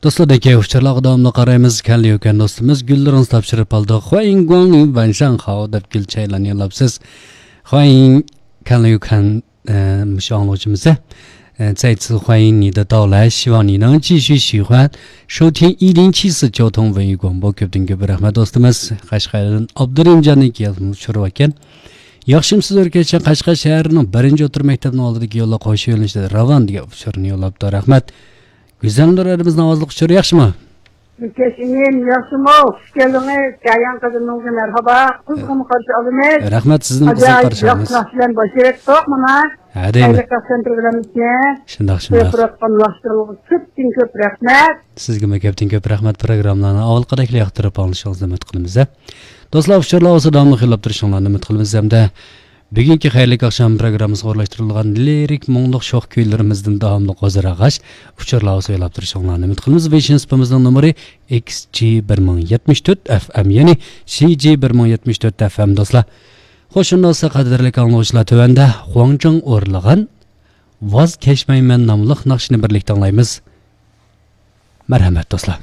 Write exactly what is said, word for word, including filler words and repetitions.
دوستلار، دەككە ئۇچۇرلارغا داۋاملىق قارايمىز. كەنلى يۈكەن دوستىمىز گۈللىرىڭىزنى تاپشۇرۇپ قالدى. خۇەيىڭ گۇاڭ يۈ ۋەنشاڭ خاۋ دەپ گۈل چايلارنى يوللاپسىز. خۇەيىڭ كەنلى يۈكەن، ئە، مۇشۇ ئاڭلىغۇچىمىز، ئە، 再次欢迎你的到来، 希望你能继续喜欢收听一零七四交通文艺广播. كۆپتىن كۆپ رەھمەت دوستىمىز. قەشقەردىن ئابدۇرېھىمجاننىڭ كېلىپ ئۇچۇرى باركەن. ياخشىمۇسىز ئۆركەچ، قەشقەر شەھىرىنىڭ بىرىنچى ئوتتۇرا مەكتەپنىڭ ئالدىدىكى يوللۇق خوش يۆنىلىشىدە راۋان دېگەن ئۇچۇرنى يوللاپتۇ. رەھمەت. گۈزەلنۇر ئەدىمىزنىڭ ئاۋازلىق ئۇچۇرى ياخشىمۇ؟ ئۆركەش ئىنىم، ياخشىمۇ؟ خۇش كەلدىڭىز. جايان قىزىمىزغا مەرھابا. قىزغىن قارشى ئالىمىز. رەھمەت، سىزنى قىزغىن ئاجايىپ قارشى ياخشى ئالىمىز. ناخشا بىلەن باشلىۋەتتۇق مانا. ھە، دەيمەن. خەيرلىك ئاخشام پروگراممىسىنى شۇنداق، شۇنداق. قويۇپ تۇرۇۋاتقان ناخشىلىرىڭىزغا كۆپتىن كۆپ رەھمەت. سىزگىمۇ كۆپتىن كۆپ رەھمەت. پروگراممىلارنى ئاۋۋالقىدەكلا ياقتۇرۇپ ئاڭلىشىڭىزنى ئۈمىد قىلىمىز. دوستلار، ئۇچۇرلار بولسا داۋاملىق يوللاپ تۇرۇشۇڭلارنى ئۈمىد قىلىمىز ھەمدە بۈگۈنكى خەيرلىك ئاخشام پروگراممىسىغا ئورۇنلاشتۇرۇلغان لىرىك مۇڭلۇق شوخ كۈيلىرىمىزدىن داۋاملىق ھۇزۇر ئالغاچ، ئۇچۇرلار بولسا يوللاپ تۇرۇشۇڭلارنى ئۈمىد قىلىمىز. ۋېيشىن سۇپىمىزنىڭ نومۇرى ئېكس جى بىر مىڭ يەتمىش تۆت ئەف ئەم، يەنى سى جى بىر مىڭ يەتمىش تۆت ئەف ئەم دوستلار. خوش، شۇنداق بولسا قەدىرلىك ئاڭلىغۇچىلار، تۆۋەندە خۇاڭجېڭ ئورۇنلىغان ۋاز كەچمەيمەن ناملىق ناخشىنى بىرلىكتە ئاڭلايمىز. مەرھەمەت دوستلار.